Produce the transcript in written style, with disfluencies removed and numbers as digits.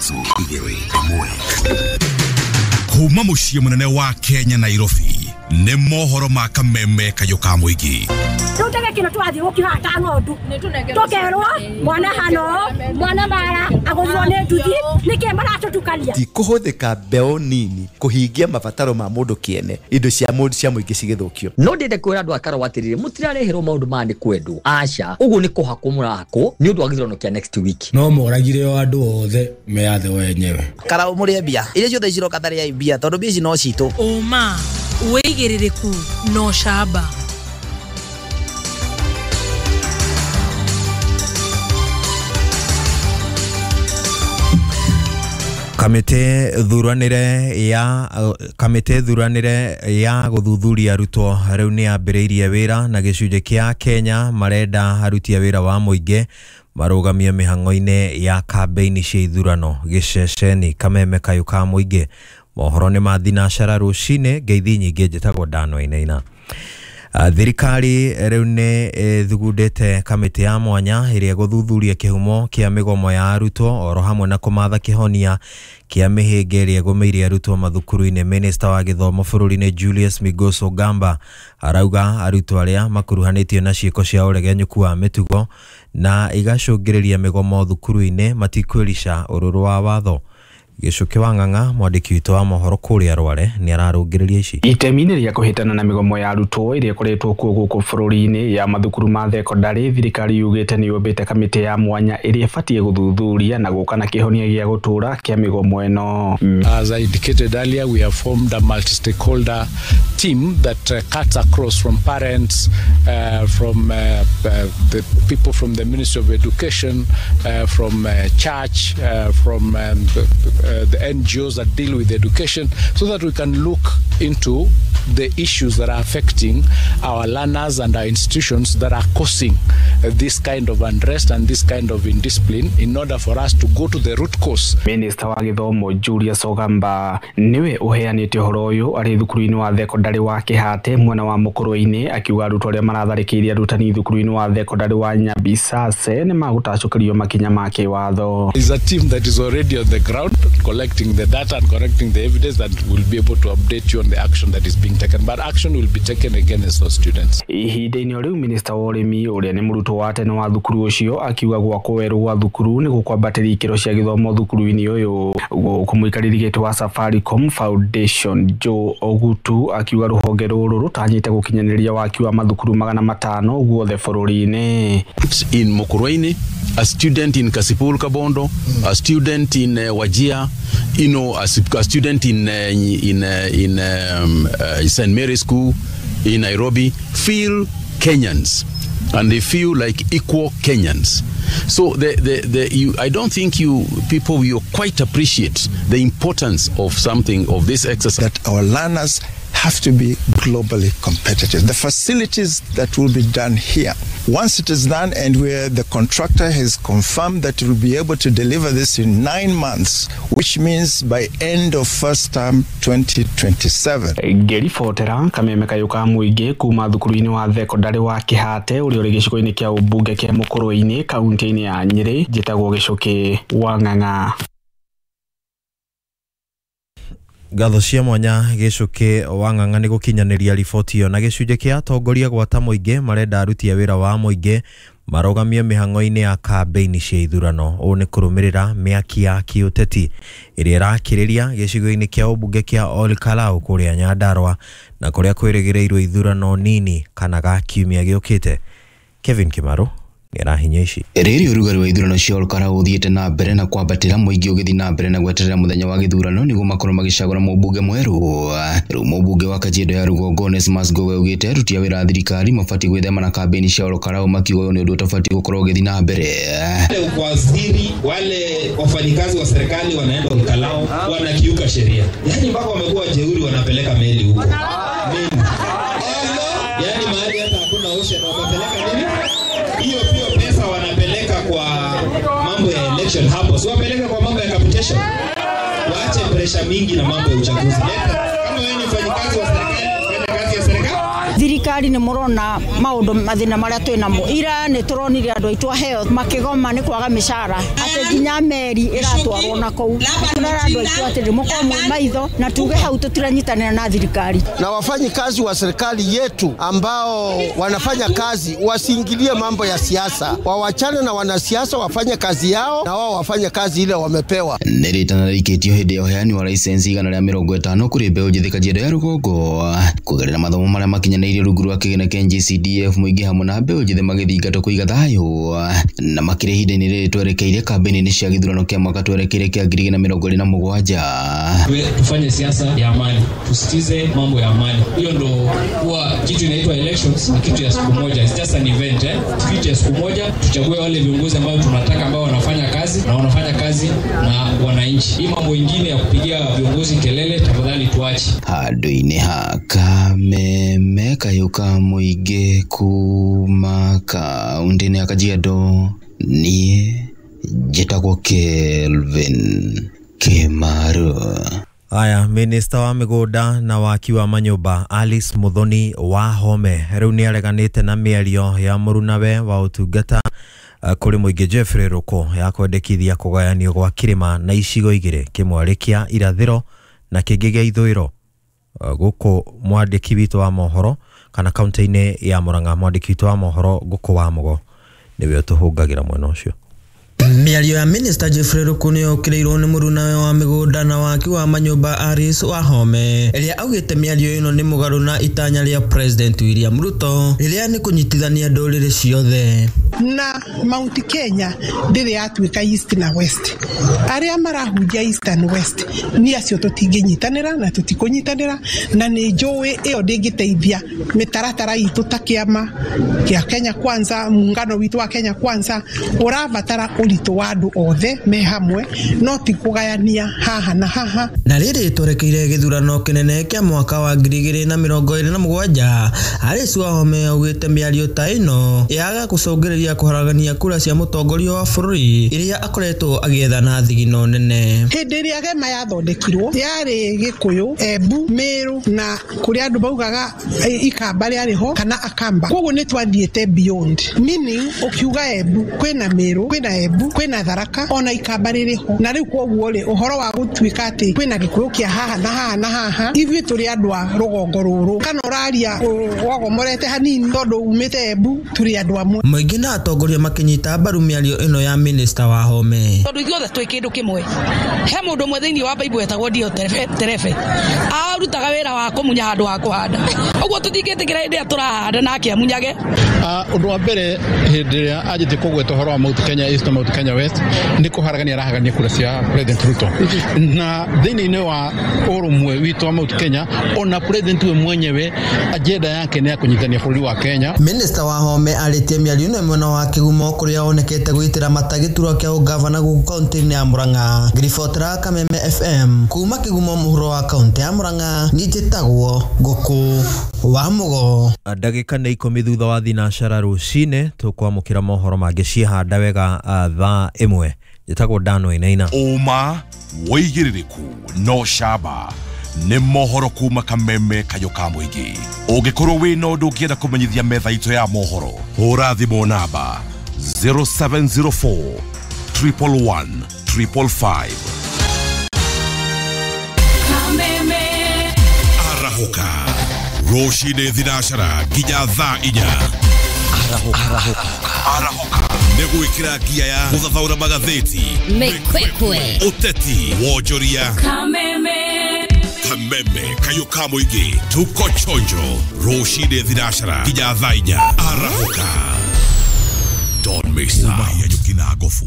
3, 1. Kuma mũciĩ mũnene wa Kenya Nairobi nĩ mohoro ma kameme kayũ ka mũingĩ. Rĩu kĩno twathiĩ gũkĩhata ng'ondu tũkerwo mwana hano mwana mara agũthirwo nĩ nduthi nĩkĩ maratũtukania. Ti kũhũthĩka mbeũ nini kũhingia mabataro ma mũndũ kĩene indo cia mũndũ cia mũingĩ cigĩthũkio. No ndĩende kwĩra andũ a Karau atĩrĩrĩ, mũtirareherwo maũndũ maya nĩ kwendwo, aca, ũguo nĩ kũhakwo mũrahakwo nĩ ũndũ wa gĩthurano kĩa next week. No moragire o andũ othe meyathe wenyewe. Karau mũrĩe mbia iria ciothe ciroka tarĩai mbia tondũ mbia ici no citũ. Ũma wĩigĩrĩrĩku no camba. Kamĩtĩ thuranĩre ya gũthuthuria arutwo rĩu nĩ yambĩrĩirie wĩra na gĩcunjĩ kĩa Kenya marenda aruti a wĩra wa mũingĩ marũgamie mĩhang'o-inĩ ya kambĩini cia ithurano. Gĩceceni kameme kayũ ka mũingĩ. Mohoro nĩ ma thinacara rũcinĩ. Ngeithi nyingĩ njĩtagwo Dan Wainaina. Thirikari rĩu nĩ ĩthugundĩte kamĩtĩ ya mwanya ĩrĩa ĩgũthuthuria kĩhumo kĩa mĩgomo ya arutwo oro hamwe na kũmatha kĩhonia kĩa mĩhĩnga ĩrĩa ĩgũmĩire arutwo mathukuru-inĩ. Minista wa gĩthomo bũrũri-inĩ Julius Migos Ogamba arauga arutwo arĩa makuruhanĩtio na ciĩko cia ũregenyũku wa mĩtugo na igacũngĩrĩria mĩgomo thukuru-inĩ matikwĩrica ũrũrũ wa watho. Gĩcũkĩ wa Ng'ang'a mwandĩki witũ wa mohoro kũrĩa Rware nĩ ararũngĩrĩria ici. Itemi-inĩ rĩa kũhĩtana na mĩgomo ya arutwo ĩrĩa ĩkoretwo kuo gũkũ bũrũri-inĩ ya mathukuru ma thekondarĩ, thirikari yugĩte nĩ yũmbĩte kamĩtĩ ya mwanya ĩrĩa ĩbatiĩ gũthuthuria na gũka na kĩhonia gĩa gũtũũra kĩa mĩgomo ĩno. As I indicated earlier, we have formed a multi-stakeholder team that cuts across from parents, from the people from the Ministry of Education, from church, from the NGOs that deal with education, so that we can look into the issues that are affecting our learners and our institutions that are causing this kind of unrest and this kind of indiscipline, in order for us to go to the root cause. Minister wa gĩthomo Julius Ogamba niwe ũheanĩte ũhoro ũyũ arĩ thukuru-inĩ wa thekondarĩ wa Kĩhate mwena wa Mũkũrwe-inĩ, akiuga arutwo arĩa maratharĩkĩire arutani thukuru-inĩ wa thekondarĩ wa Nyabisase nĩ magũtacũkĩrio makinya ma kĩwatho. Is a team that is already on the ground collecting the data and collecting the evidence that will be able to update you on the action that is being taken, but action will be taken against those students. Ihinda-inĩ rĩu Minister wa ũrĩmi ũrĩa nĩ mũrutwo wa tene wa thukuru ũcio akiuga gwakwo werũ gwa thukuru nĩ gũkwambatĩria ikĩro cia gĩthomo thukuru-inĩ ũyũ. Gũkũ mũikarĩri gĩtĩ wa Safaricom Foundation Joe Ogutu akiuga rũhonge rũrũ rũtanyĩte gũkinyanĩria waki wa mathukuru 500 guothe bũrũri-inĩ. In Mukurweini, a student in Kasipul Kabondo, a student in Wajir, you know, a student in St. Mary's School in Nairobi feel Kenyans, and they feel like equal Kenyans. So I don't think you people will quite appreciate the importance of something of this exercise. That our learners have to be globally competitive. The facilities that will be done here, once it is done and where the contractor has confirmed that we'll be able to deliver this in 9 months, which means by end of first term 2027. Ngĩribotera kameme kayũ ka mũingĩ kuma thukuru-inĩ wa thekondarĩ wa Kĩhate ũrĩa ũrĩ gĩcigo-inĩ kĩa ũmbunge kĩa Mũkũrwe-inĩ kaunti-inĩ ya Nyĩrĩ, njĩtagwo Gĩcũkĩ wa Ng'ang'a. Ngatho cia mwanya Gĩcũkĩ wa Ng'ang'a nĩ gũkinyanĩria riboti ĩyo. Na gĩcunjĩ kĩa atongoria gwata mũingĩ marenda aruti a wĩra wa mũingĩ marũgamie mĩhang'o-inĩ ya kambĩini cia ithurano. Ũũ nĩ kũrũmĩrĩra mĩaki ya kĩũteti ĩrĩa ĩrakĩrĩria gĩcigo-inĩ kĩa ũmbunge kĩa Ol Kalou kũrĩa Nyandarua na kũrĩa kwĩrĩgĩrĩirwo ithurano nini kana ga kiumia gĩũkĩte. Kevin Kimaru nĩarahinya ici. Rĩrĩ ũrugarĩ wa ithurano cia Ol Kalou ũthiĩte na mbere na kwambatĩra, mũingĩ ũgĩthiĩ na mbere na gweterera mũthenya wa gĩthurano nĩguo makorwo magĩcagũra mũmbunge mwerũ. Rĩu mũmbunge wa Kajiado ya Rũgongo Onesmus Ngowe augĩte aruti a wĩra a thirikari mabatiĩ gwĩthema na kambĩini cia Ol Kalou, makiuga ũyũ nĩ ũndũ ũtabatiĩ gũkorwo ũgĩthiĩ na mbere. Waziri wale wafanyikazi wa serikali wanaenda Ol Kalou wanakiuka sheria, yaani mpaka wamekuwa jeuri, wanapeleka meli huko, meli yaani mahali hata hakuna ocean wamepeleka nini hiyo pia pesa wanapeleka kwa mambo ya election hapo, si wapeleka kwa mambo ya capitation. Waache pressure mingi na mambo ya uchaguzi. Kama wewe ni mfanyikazi wa serikali, fanya kazi ya serikali. Thirikari nĩ mũrona maũndũ mathĩna marĩa twĩ namo. Ira nĩ tũronire andũ aitũ a health makĩgoma nĩ kwaga mĩcara, atĩ nginya meri ĩratwarwo na kũu. Tũrera andũ aitũ atĩrĩ, mũkorwo mwĩ maitho na tuge hau tũtiranyitanĩra na thirikari. Na wafanyikazi wa serikali yetu ambao wanafanya kazi wasiingilie mambo ya siasa, wawachane na wanasiasa, wafanye kazi yao na wao wafanye kazi ile wamepewa. Nĩ rĩtana rĩikĩtio hĩndĩ ya ũheani wa license 150 kũrĩ mbeũ njĩthĩ Kajiado ya rũgongo kũgerera mathomo marĩa makinyanĩirie rungu rwa kĩgĩna kĩa NGCDF mũingĩ hamwe na mbeũ njĩthĩ magĩthingatwo kũiga thayũ na makĩria ihinda-inĩ rĩrĩ twerekeire kambĩini cia gĩthurano kĩa mwaka twerekeire kĩa 2027. Tufanye siasa ya amani, tusitize mambo ya amani. Hiyo ndo huwa kitu inaitwa elections, ni kitu ya siku moja, it's just an event Kitu ya siku moja, tuchague wale viongozi ambao tunataka, ambao wanafanya kazi na wanafanya kazi na wananchi. Hii mambo ingine ya kupigia viongozi kelele tafadhali tuache. Handũ-inĩ ha Kameme kayũ ka mũingĩ kuma kaũntĩ-inĩ ya Kajiado, niĩ njĩtagwo Kelvin Kimaru. Aya, minista wa mĩgũnda na waki wa manyũmba Alice Muthoni Wahome rĩu nĩ areganĩte na mĩario ya mũrunawe wa ũtungata kũrĩ mũingĩ Jeffrey Ruku ya kwendekithia kũgayanio gwa kĩrĩma na icigo igĩrĩ, kĩmwe kĩa irathĩro na kĩngĩ gĩa ithũĩro. Gũkũ mwandĩki witũ wa mohoro kana kaunti-inĩ ya Murang'a, mwandĩki witũ wa mohoro Ngũkũ wa Mũgo nĩwe ũtũhũngagĩra mwena ũcio. Mĩario ya Minister Jeffrey Ruku nĩ yũkĩrĩirwo nĩ mũrunawe wa mĩgũnda na waki wa manyũmba Alice Wahome ĩrĩa augĩte mĩario ĩno nĩ mũgarũ na itanya rĩa President William Ruto rĩrĩa nĩ kũnyitithania ndũrĩrĩ ciothe. Na Mount Kenya ndĩrĩ yatuĩka East na West. Arĩa marahunjia East and West ni acio tũtingĩnyitanĩra na tũtikũnyitanĩra, na nĩ njũĩ ĩyo ndĩngĩteithia mĩtaratara itũ ta kĩama kĩa Kenya Kwanza, muungano witũ wa Kenya Kwanza ũrabatara ũritũ wa andũ othe me hamwe, no ti kũgayania haha na haha. Na rĩrĩ twerekeire gĩthurano kĩnene kĩa mwaka wa 2027, Alice Wahome augĩte mĩario ta ĩno yaga gũcũngĩrĩria kũharagania kura cia mũtongoria wa bũrũri iria akoretwo agĩetha na thigino nene. Hĩndĩ ĩrĩa gema yathondekirwo yarĩ Gĩkũyũ, Embu, Meru na kũrĩa andũ maugaga Ikamba rĩarĩ ho kana Akamba. Koguo nĩ twathiĩte beyond, meaning ũkiuga Embu kwĩna Meru, kwĩna Embu, kwĩna Tharaka ona Ikamba rĩrĩ ho. Na rĩu koguo rĩ, ũhoro wa gũtuĩka atĩ kwĩna Gĩkũyũ kĩa haha na haha na haha, ithuĩ tũrĩ andũ a rũgongo rũrũ, kana ũraria wagomorete hanini tondũ umĩte Embu, tũrĩ andũ amwe. Mũingĩ na atongoria makĩnyita mbaru mĩario ĩno ya Minister Wahome. Tondũ ithuothe twĩ kĩndũ kĩmwe. He mũndũ ũmwe thĩinĩ wa Bible etagwo Dioterefe, arutaga wĩra wa kũmunya handũ ha kũhanda. Ũguo tũtingĩtĩkĩra hĩndĩ ĩrĩa tũrahanda nake amunyage. Ũndũ wa mbere hĩndĩ ĩrĩa anjĩtie kũgweta ũhoro wa Mount Kenya East na Mount Kenya West nĩ kũharagania arahagania kura cia President Ruto, na thĩinĩ wa ũrũmwe witũ wa Mount Kenya ona President we mwenyewe agenda yake nĩ ya kũnyitania bũrũri wa Kenya. Minister Wahome arĩtie mĩario ĩno mwena wa Kĩgumo kũrĩa onekete gwĩtĩra mata gĩturwa kĩa ũgavana gũkũ kaũntĩ-inĩ ya Murang'a. Ngĩribotera Kameme FM kuma Kĩgumo mũhuro wa kaũntĩ ya Murang'a, niĩ njĩtagwo Ngũkũ wa Mũgo. Ndagĩka nĩ 10 thutha wa thinacara rũcinĩ tũkwamũkĩra mohoro mangĩ ciehanda wega thaa 1. Njĩtagwo Dan Wainaina. Ũma wĩigĩrĩrĩku no camba nĩ mohoro kuma Kameme kayũ ka mũingĩ. Ũngĩkorwo wĩna ũndũ ũngĩenda kũmenyithia metha itũ ya mohoro, hũra thimũ namba 0704 111 555. Kameme arahũka rũcinĩ thinacara nginya thaa 4. Arahũka nĩ gwĩkĩra ngia ya gũthathaũra magathĩti, mĩkwekwe, ũteti, wonjoria. Kameme Kameme kayũ ka mũingĩ, tuko chonjo rũcinĩ thinacara nginya thaa 4. Arahũka, don't miss out. Nyuki na gofu.